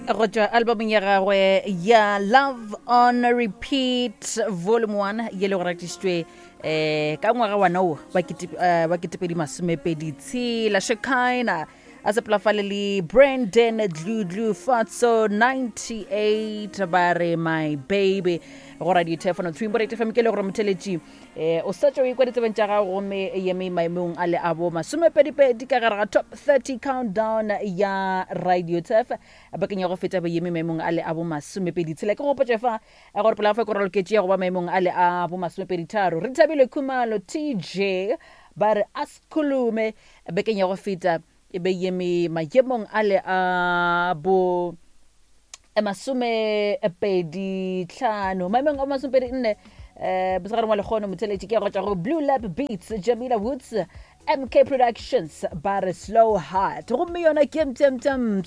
Go tšwa albumong ya gagwe ya Love on Repeat Volume 1 ye le go ratišitšwe um ka ngwaga wana wo wa 2026, Shekina a sepela fale le Brandon Dludlu Fatso 98 ba re My Baby go radio telefono 3.8 FM. Ke le gore motheletši o sa tšo ikwa ditsebeng tša gago gomme e eme maemong a le a bo masomepedipedi ka gare ga top 30 countdown ya radio tef bakeng ya go feta ba eme maemong a le a bo masomepedi tshela. Ke gopotše fa gore pela fa koroloketše ya go ba maemong a le a bo masomepeditharo re thabile Khumalo TJ ba re Askhulume bekeng ya go feta e be eme maemong a le a bo masomepedi tlhano, maemong a masomepedi nne um mosegareng wa lekgono. Motheletši ke ya go tšwa go Blue Lab Beats, Jamila Woods, MK Productions ba re Slow Heart, gomme yona ke mpša um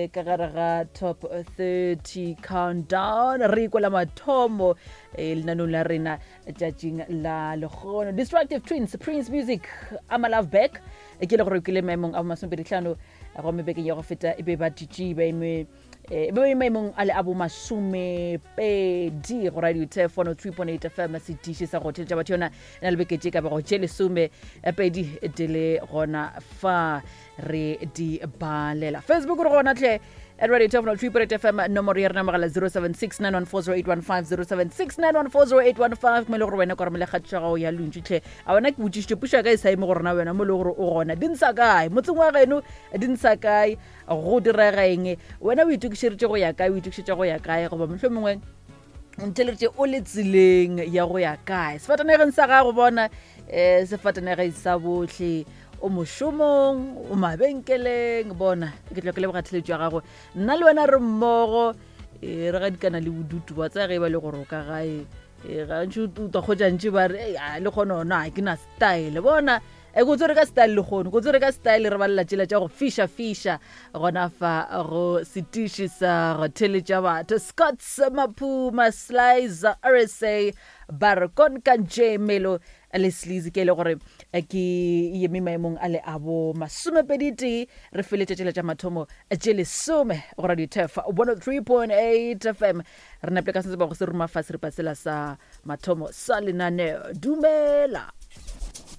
ka gare ga top 30 countdown re ikwela mathomo lenanong la rena tšatšing la lekgono. Destructive Twins, Prince Music, Ama Love Back ke le gore ke le maemong a masomepedi tlhano, gomme bekeng ya go feta e be ba ditše ba eme e be maemong a le a bo masomepedi go radio tef 103.8 FM, setiši sa go theletša batho. Yona e na le beke tše ka bago tše 12 di le gona fa re di balela. Facebook re gona tlhe at radio tef 103.8 FM. Nomoro ya rena mogala 076 9140815, 076 9140815, mo e le gore wena ka romela kgatišo ya gago ya lontši tlhe. A wena ke botšišitše pušo ya ka e sa eme gore na wena mo e le gore o gona di ntsha kae, motseng wa geno di ntsha kae, go direga eng, wena o itokišeditše go ya kae, o itokišetša go ya kae, goba mohlho mongwe o ntheleditše o le tseleng ya go ya kae sefatanegeng sa gago. Bona sefatanegeng sa bohle, o mošomong, o mabenkeleng, bona ke tlo ke leboga theletšo ya gago. Nna le wena re mmogo re gadikana le bodutu wa tsaya ge e ba le gore o ka gae gantši o twa kgotšantši ba re le kgone ona ga ke na style. Bona e ko tswere ka style le kgone ko tswere ka style, re balela tšela tša go fiša fiša gona fa go setiši sa go theletša batho. Scots Maphuma, Slicer RSA ba re Konkanje Melo le Sleazy ke e le gore ke yeme maemong a le a bo masomepedi tee. Re feletša tšela tša mathomo tše 10 go radio tef 103.8 FM. Re napile ka sentse ba go se ruma fa seripa sela sa mathomo sa lenaneo. Dumela.